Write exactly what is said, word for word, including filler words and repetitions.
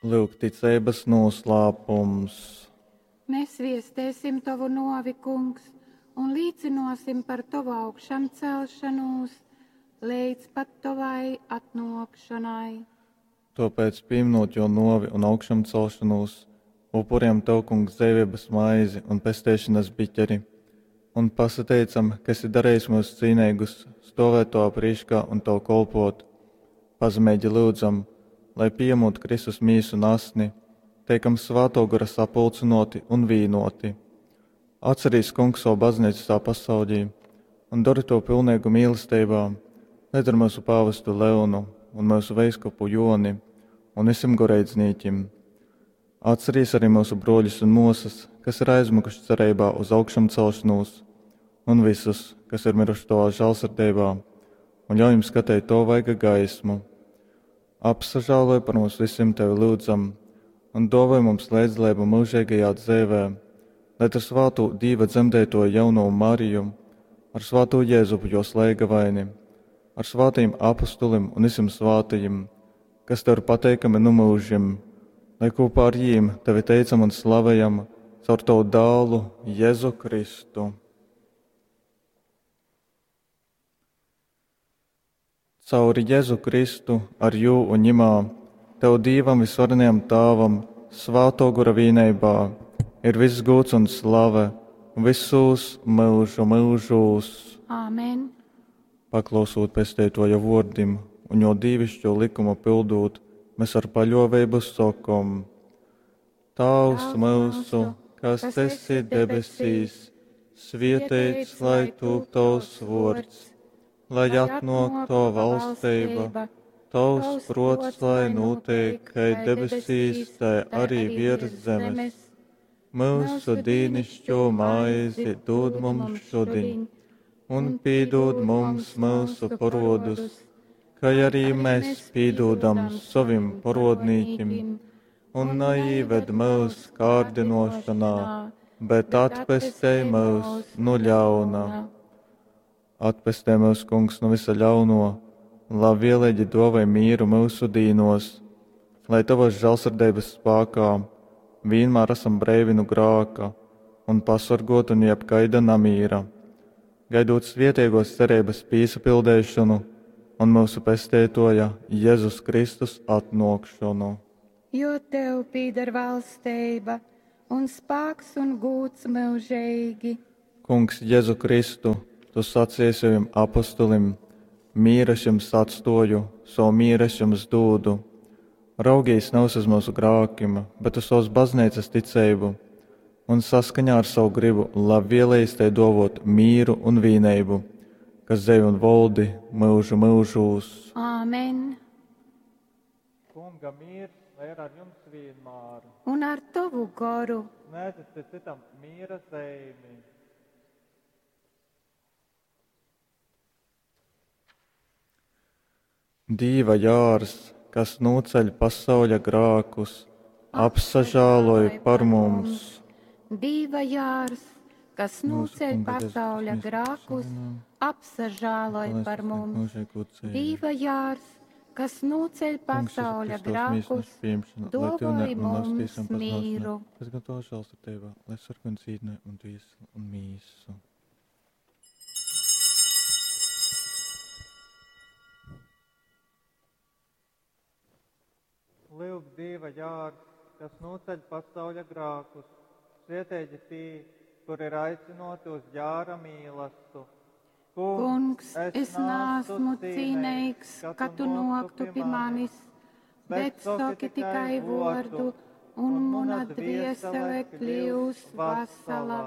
Lūk, ticeibas noslēpums. Mēs viestēsim tovu novi, kungs, un līcinosim par tovu augšamcelšanos līdz pat tovai atnākšanai. Tāpēc, pieminot jo novi un augšamcelšanos, upuriem tev, kungs, dzīvības maizi un pestēšanas biķeri, un pasateicam, ka esi darījis mūs cīnīgus, stovēt tavā prīškā un tev kolpot. Pazemīgi lūdzam, lai pieņemot Kristus mīsu un asni, teikam svēto gara sapulcinoti un vīnoti. Atcerīs, kungs, savu baznīcu visā pasaulī un dari to pilnīgu mīlestībā, lai ar mūsu pāvestu Leonu un mūsu veiskupu Joni un visiem goreidznīķim. Atcerīs arī mūsu broļus un mūsas, kas ir aizmukuši cerībā uz augšamcelšanos, un visus, kas ir miruši tavā žēlsirdībā, un ļauj jums skatīt to vaiga gaismu. Apsažāloj par mums visiem tevi lūdzam, un dāvāj mums līdzdalību mūžīgajā dzīvē, lai ar svātu Dīva dzemdēto jauno Mariju, ar svāto Jēzupu jo slēgavaini, ar svātajiem apustulim un visiem svātajiem, kas tev ir pateikami nu mūžim, lai kopā ar jīm tevi teicam un slavējam caur tavu dālu Jēzu Kristu. Cauri Jēzu Kristu, ar jū un ņimā, tev Dīvam visvarenajam Tāvam, svāto gora vīneibā, ir viss gūts un slave, visos mūžu mūžūs. Āmen. Paklausot pestētoja vordim un jo dīvišķo likumu pildot, mēs ar paļovību sakom: Tavs mūsu, kas esi debesīs, svietēts lai tūp tavs vords, lai atnāk tava valstība, tavs prots, lai notiek, kai debesīs, tai arī virs zemes. Mūsu dīnišķo maizi dod mums šodien, un pīdod mums mūsu parodus, kā arī mēs pīdodam savim parodnīkim, un neīved mūs kārdinošanā, bet atpestē mūs no ļauna. Atpestē mūs, kungs, no visa ļauno, labvēlīgi dāvāj mīru mūsu dīnos, lai tavas žēlsirdības spēkā vienmēr esam breivi no grāka un pasargoti no jebkaida namīra, gaidot svietiegos cerības pīsapildēšanu un mūsu pestētoja Jēzus Kristus atnākšanu. Jo tev pīdar valstība un spēks un gūts mūžīgi. Kungs Jēzu Kristu, tu sacīji saviem apostulim, mīras jums atstoju, savu mīras jums dūdu. Raugīs nevis uz mūsu grākim, bet uz savas baznīcas ticību, un saskaņā ar savu gribu labvēlējis tai dovot mīru un vīneibu, kas dzevi un voldi mūžu mūžūs. Āmen. Kunga mīrs, lai ir ar jums vienmēr. Un ar tavu goru. Sniedziet citam mīra zīmi. Dīva jārs, kas noceļ pasauļa grākus, apsažāloj par mums. Dīva jārs, kas noceļ pasauļa grākus, apsažāloj par mums. Dīva jārs, kas noceļ pasauļa grākus, dāvāj mums mīru. Kas gan to žēlsirdībā, lai sarkan dzīvne un dvieseli un mīsu. Lūk, Dieva jārs, kas noceļ pasauļa grākus, svietēģi tī, kur ir aicinoti uz jāra mīlastu. Kungs, es nāsmu cīnīgs, ka tu noktu pie manis, bet saki tikai vordu, un mana dviesele kļūs vasala.